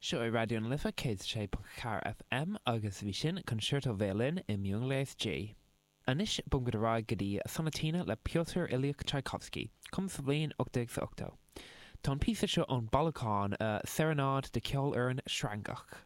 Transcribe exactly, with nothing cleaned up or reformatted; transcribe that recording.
Seo é Raidió na Life céad sé ponc ceathair FM agus bhí sin Concerto Veidhlin i miongléas G. Anois bogfaimid ar aghaidh go dtí Sonatina le Piotr Ilyich Tchaikovsky, cumtha sa bhliain ocht déag ochtó. Tá an píosa seo ón bailiúchán Serenáid do Cheolfhoireann Sreangach.